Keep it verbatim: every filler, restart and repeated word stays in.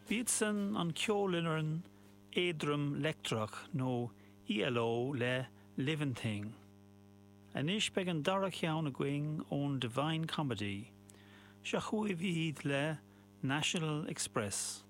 B'iad san an ceolfhoireann éadrom leictreach nó ELO le Livin' Thing. Anois beidh an dara ceann againn ón Divine Comedy, seo chugaibh iad le National Express.